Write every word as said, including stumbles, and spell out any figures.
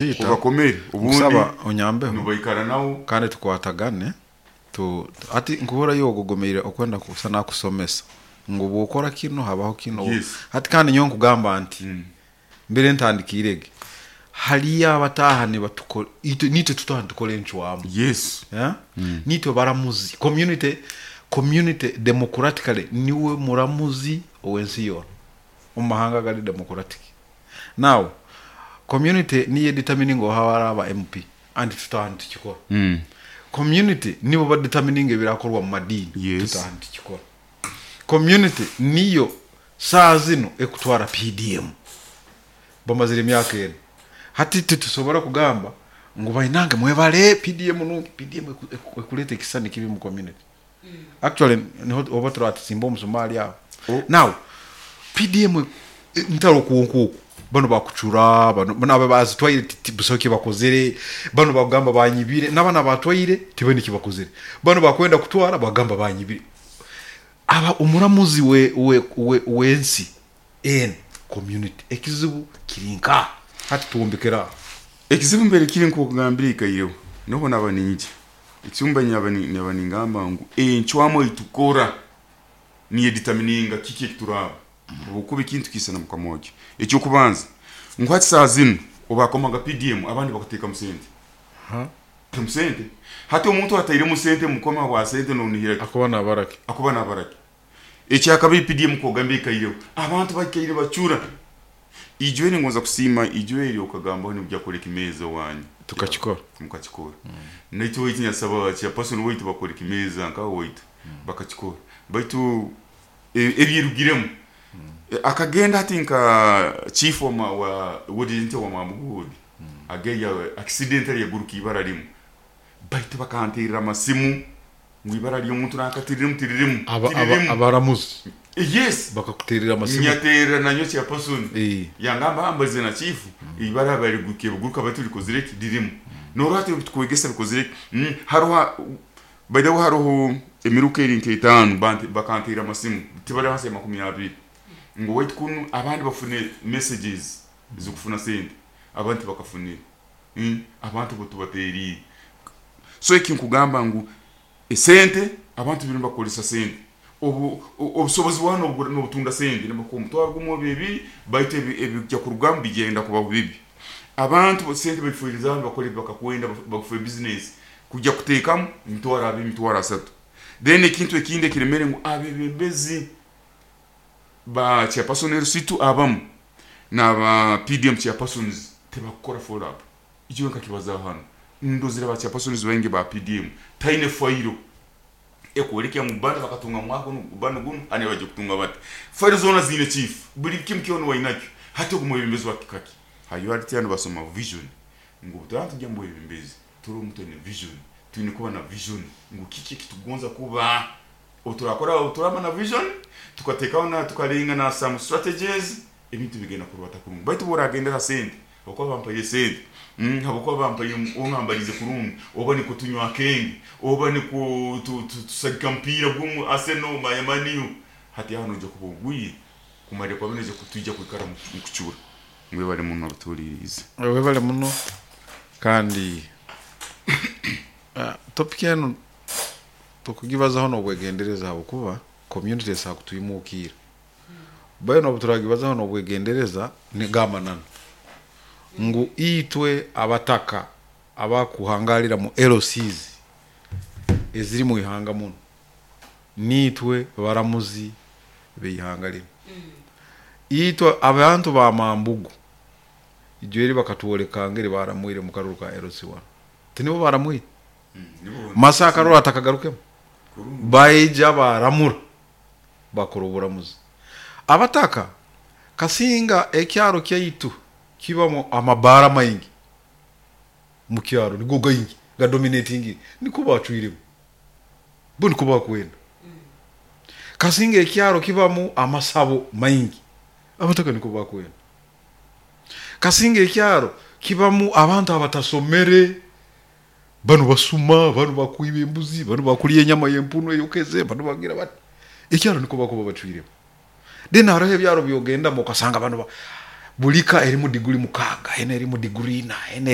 Ubakomere ubundi Nkusaba onyambeho. Nubaikara nawo. Kandi tukwatagane tu ati nkuhura yogogomeire okwenda kusa nakusomesa ngu bwokora kino habaho kino. Yes. Hati kandi nyowe nkugamba nti mbere ntandikirege haliyo abataha nibatukora itwe nitwe tutaha nitukora encwamu. Yes. Yeah? Nitwe baramuzi community community democratically niwe muramuzi owensi yona omu mahanga gari democratic. Now community niyo determining oha araba M P and tutaha nitukikora. mm. Community nibo badetermining ebirakorwa mu madini. Yes. Tutaha nitukikora. Community niyo saa zino ekutwara P D M bamazire emyaka ena. Hati titusobora kugamba ngu bainange mwebale P D M nungi. P D M eku- eku- ekuleta ekisani kibi mu community. Actually niho oba turatisimba omusumali aho. Oh. Now P D M e- ntaro kuonkuku bano bakucura bano bano aba bazitwaire buso kibakozere, bano bagamba banyibire n'abana batwaire tibene kibakozere, bano bakwenda kutwara bagamba banyibire. Aba omuramuzi we we we wensi en community ekizibu kirinka hati tuwombekera. Ekizibu mbere kiri nkokugambira ikaireho noho naba ninje ekizibu nyaba ni- nyaba ningamba ngu encwamu eitukora niyo determininga kiki ekituraba obukuba ekintu kisana mukamoja. Ekyokubanza ngu hati saa zinu obakomaga P D M abandi bakuteekamu sente mu sente. Hati omuntu atairemu sente mukoma wa sente nonihira Akuba nabaraki. Akuba nabaraki. Ekyakabiri, P D M kogamba ikaireho abantu baikaire bacura ijweri ngonza kusiima ijweri okagambaho nibujya kureka imeza wanyu. Tukakikora. Mukakikora. Naitwe waitu nyasaba chairperson waitu bakora imeza nkawe waitu bakakikora baitu e- ebyerugiremu. E, akagenda hati nka chief wa ma- wa wodinte wa Mamugudi ageya accidentally yaguruka ibara rimwe baitu bakantirira amasimu ngo ibara ry'omuntu nakatiriremu tiririmu. Aba- aba- tiririmu. Abaramuzi Yes. bakakuterera amasimu. Nyaterera nanyo chairperson. Eh. Yangamba ambalize na chief ibara bariguke buguruka baitu likozire ki dirimu norwati tukwegesa bikozire ki? mm, haruha by the way haruho emiruka eri nk'etaano banti bakantera amasimu tibari hansi ya makumi abiri ngo wait kunu abandi bafune messages zokufuna sente abandi bakafunire mm, abantu bo tubateriire. So eki nkugamba ngu esente abantu biri bakolesa sente obu o- obusobozi bwano nobutunda sente nibakuha omutwaro gumwe oba ebiri baitu ebi- ebijja kurugamu bigenda kuba bibi. Abantu bo sente babifuiriza abantu bakora bakakwenda bakufa business kujja kuteekamu emitwaro abiri, emitwaro asatu. Then ekintu ekindi ekiremere ngu abebembezi ba chairperson L C two abamu n'aba P D M chairpersons tebakukora follow up. Ekyo nkakibazaho hano ndozire ba chairpersons baingi ba P D M taine fayiro ekwolekya ngu bano bakatunga mwaka guno bano guno ani baje kutunga bati fayiro zona zine chief buli kimu kyona wainakyo. Hati ogumwebembezi wa kikaki hayo ati hano basoma vision ngu tujya mu bwebembezi turi omuntu aine vision twine kuba na vision ngu kiki ekitugonza kuba oturakora turaba na vision tukateekaho na tukarenga na some strategies ebintu bigenda kurubata kurungi. Baitu boragendera sente habwokuba bampaire sente mm, habwokuba bampaire ongambalize kurungi oba niko tunywa akenge oba niko tu- tu- tusagika mpira gumu Arsenal mayamaniyo hati hano nja kuba ogwiye kumalira kwa bino kutujja kwikara mu mu kucura. Mwebale muno abatuulirize. Webale muno kandi uh, topic eno tukugibazaho nobwegendereza habwokuba community esobola kutwimukiira bwenu obu turagibazaho nobwegendereza nigamananu ngu itwe abataka abakuhangalira mu L Cs eziri mu ihanga muno nitwe baramuzi beihanga lino. Itwe abantu ba Mambugu ijweri bakatwoleka ngeri baramwire mu karuru ka L C one tinibo baramwire masa akaruru atakagarukemo baija baramura bakora oburamuzi. Abataka kasinga ekyaro kyaitu kibamu amabara maingi mu kyaro nigo gaingi gadominating niko bacwiremu bo niko bakwenda. Kasinga ekyaro kibamu amasabo maingi abataka niko bakwenda. Kasinga ekyaro kibamu abantu abatasomere bano basuma bano bakwiba embuzi bano bakulya enyama y'empunu eyokeze bano bagira bati ekyaro niko bakuba bacwiremu. Then hariho ebyaro byogendamu okasanga bano ba- Buli ka erimu diguri mukaaga, ena erimu diguri ina, ena.